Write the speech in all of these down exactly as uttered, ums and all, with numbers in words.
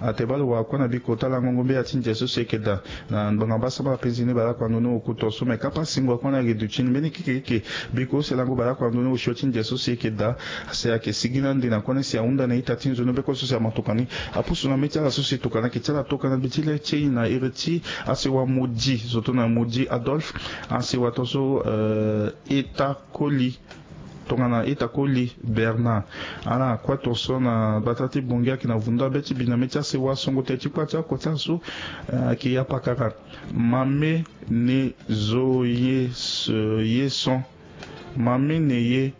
Atebalo wa kue na biko talango ngombe ya ti ndia so si eke daa na ngbanga mbasambala penzi ni baleoko ando ni oku tonso me kapa singo akue na gi duti ni mbeni kikekike. Biko selango baleoko ando ni osio ti ndia so si eke daa. Asi ayeke sigi na ande na kue ni si ahunda na ita ti nzoni beko so si amatoka ni. Apusu na mê ti ala so si tokana eke ti ala tokana gbe ti le ti e na iri ti asi wa modi zoto na modi adolphe. Asi wa tonso eta koli tongana eta koli bernard. Ala kue tonso na gbata ti bongi ayeke na vundu abe ti bina mê ti asi wa songo te ti kua ti akua ti asu. Ayeke ya pakara. Mame ne zo ye son. Mame ne ye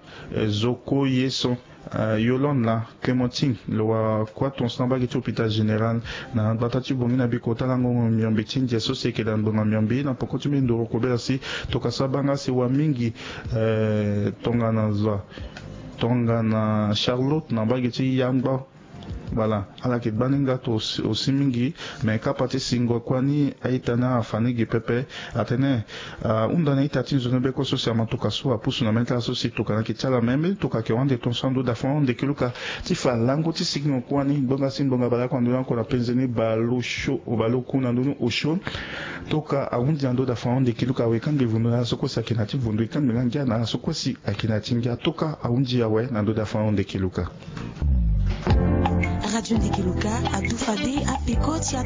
zo ko ye son. Yolande la clémentine lo wa kua tonso na bagi ti hôpital général na gbata ti bongi na biko talango miombe ti ndia so si eke daa ngbonga miombe na poko ti mbi ndoro kobela si tokasa banga si wa mingi. Tongana zo tongana charlotte na bagi ti yangba. Voilà. Ala yeke gbani nga to osi mingi. Me kapa ti singo kua ni a-ita ni afa ni gi pepe. Atene ahunda na ita ti nzoni beko so si amatoka so apusu na mê ti ala so si tokana eke ti ala me mbeni toka ake wande tonso ando dafa wande kiluka ti fa lango ti sigingo kua ni ngbonga si ngbonga baleoko ando ni oko na penze ni baleosio baleoku na ndo ni osio. Toka ahundi na ndo dafa wande kiluka awe kangbi vundu na ala so kue si ake na ya ti vundu ekangbi nga ngia na ala so kue si ake na ya ti ngia toka ahundi awe na ndo dafa wande kiluka. Radio Ndekeluka adufa de apeko ti